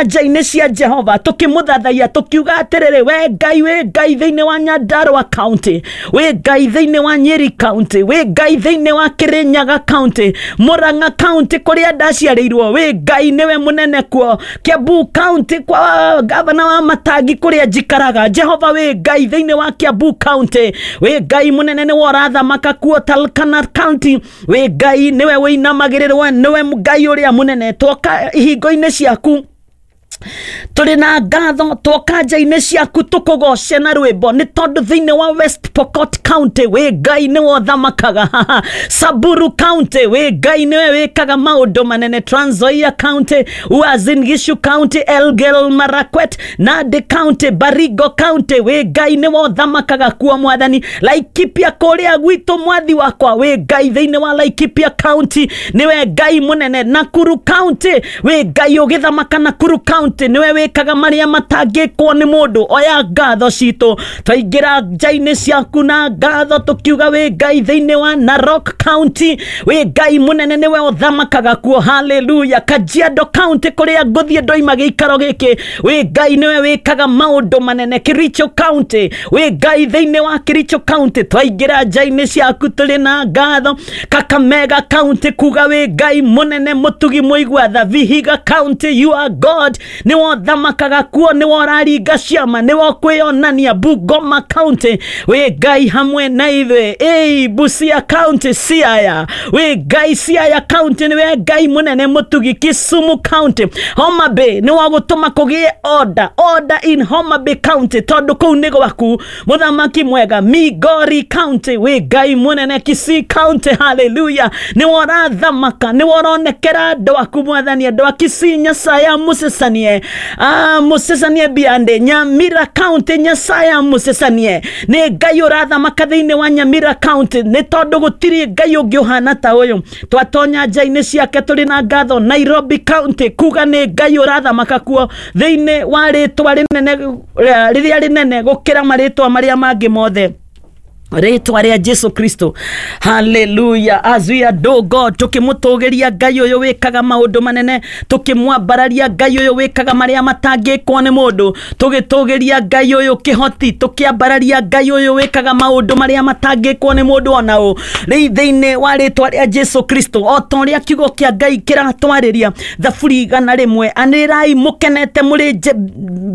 Nja-inĩ cia Jehova tũkĩmũthathaiya, tũkiuga atĩrĩrĩ, we Ngai, wĩ Ngai thĩinĩ wa Nyandarua County, wĩ Ngai thĩinĩ wa Nyeri County, wĩ Ngai thĩinĩ wa Kirinyaga County, Murang'a County kũrĩa ndaciarĩirwo, wĩ Ngai nĩwe mũnene kuo, Kiambu County kwa gavana wa Matangi kũrĩa njikaraga, Jehova wĩ Ngai thĩinĩ wa Kiambu County, wĩ Ngai mũnene nĩwe ũrathamaka kuo, Turkana County, wĩ Ngai nĩwe wĩinamagĩrĩrwo, nĩwe Ngai ũrĩa mũnene. Twoka ihingo-inĩ ciaku tũrĩ na ngatho, twoka nja-inĩ ciaku tũkũgoce na rwĩmbo, nĩ tondũ thĩinĩ wa West Pokot County wĩ Ngai nĩwe ũthamakaga, Samburu County wĩ Ngai nĩwe wĩkaga maũndũ manene, Trans Nzoia County, Uasin Gishu County, Elgeyo Marakwet, Nandi County, Baringo County, wĩ Ngai nĩwe ũthamakaga kuo. Mwathani, Laikipia kũrĩa gwitũ, mwathi wakwa, wĩ Ngai thĩinĩ wa Laikipia County, nĩwe Ngai mũnene. Nakuru County, wĩ Ngai ũgĩthamaka Nakuru County, nĩwe wĩkaga marĩa matangĩkwo nĩ mũndũ. Oya ngatho citũ, twaingĩra nja-inĩ ciaku na ngatho, tũkiuga wĩ Ngai thĩinĩ wa Narok County, wĩ Ngai mũnene nĩwe ũthamakaga kuo. Haleluya. Kajiado County kũrĩa ngũthiĩ ndoima gĩikaro gĩkĩ, wĩ Ngai nĩwe wĩkaga maũndũ manene. Kericho County, wĩ Ngai thĩinĩ wa Kericho County, twaingĩra nja-inĩ ciaku tũrĩ na ngatho. Kakamega County, kuga wĩ Ngai mũnene, mũtugi, mũigua tha. Vihiga County, you are God, nĩwe ũthamakaga kuo, nĩwe ũraringa ciama, nĩwe ũkwĩyonania. Bungoma County, wĩ Ngai hamwe na ithuĩ. Ĩi, Busia County, Siaya, wĩ Ngai Siaya County, nĩwe Ngai mũnene mũtugi. Kisumu County, Homa Bay, nĩwe ũgũtũma kũgĩe order, order in Homa Bay County, tondũ kũu nĩ gwaku, mũthamaki mwega. Migori County, wĩ Ngai mũnene. Kisii County, haleluya, nĩwe ũrathamaka, nĩwe ũronekera andũ aku. Mwathani, andũ a Kisii, Nyasaye amũcecanie, amũcecanie biande. Nyamira County, Nyasaye amũcecanie, nĩ Ngai ũrathamaka thĩinĩ wa Nyamira County, nĩ tondũ gũtirĩ Ngai ũngĩ ũhana ta ũyũ. Twatonya nja-inĩ ciake tũrĩ na ngatho. Nairobi County, kuga nĩ Ngai ũrathamaka kuo thĩinĩ wa rĩtwa rĩnene, rĩrĩa rĩnene gũkĩra marĩtwa marĩa mangĩ mothe, rĩtwa rĩa Jesu Kristo. Haleluya. As we adore God, tukĩmũtũgĩria Ngai ũyũ wĩkaga maũndũ manene, tukĩmwambararia Ngai ũyũ wĩkaga marĩa matangĩkwo nĩ mũndũ, tũgĩtũgĩria Ngai ũyũ kĩhoti, tũkĩambararia Ngai ũyũ wĩkaga maũndũ marĩa matangĩkwo nĩ mũndũ ona ũ, rĩu thĩinĩ wa rĩtwa rĩa Jesu Kristo, o ta ũrĩa kiugo kĩa Ngai kĩratwarĩria, Thaburi 100, anĩrĩrai mũkenete mũrĩ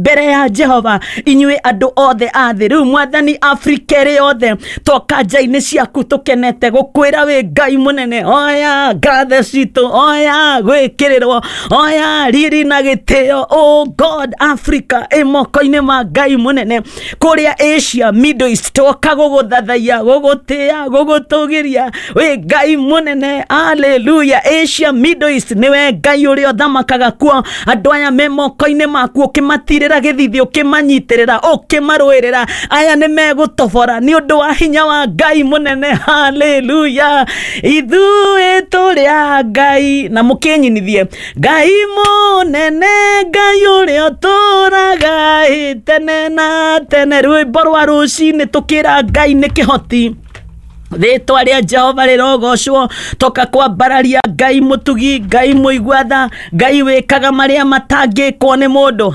mbere ya Jehova, inyuĩ andũ othe a thĩ. Rĩu Mwathani, Afrika ĩrĩ yothe, toka nja-inĩ ciaku tũkenete gũkwĩra wĩ Ngai mũnene. Oya ngathe citũ, oya gwĩkĩrĩrwo, oya riri na gĩtĩo. Oh God, Africa ĩ moko-inĩ ma Ngai mũnene. Kũrĩa Asia, Middle East, twoka gũgũthathaiya, gũgũtĩĩa, gũgũtũgĩria, wĩ Ngai mũnene. Haleluya. Asia, Middle East, nĩwe Ngai ũrĩa ũthamakaga kuo. Andũ aya me moko-inĩ maku, ũkĩmatirĩra gĩthithi, ũkĩmanyitĩrĩra, ũkĩmarũĩrĩra, aya nĩ megũtobora nĩ ũndũ wa hinya wa Ngai mũnene. Haleluya. Ithuĩ tũrĩ a Ngai na mũkĩnyinithie Ngai mũnene, Ngai ũrĩa ũtũraga ĩ tene na tene. Rwĩmbo rwa rũcinĩ tũkĩra Ngai nĩ kĩhoti. Rĩtwa rĩa Jehova rĩrogocwo. Toka kwambararia Ngai mũtugi, Ngai mũigua tha, Ngai wĩkaga marĩa matangĩkwo nĩ mũndũ.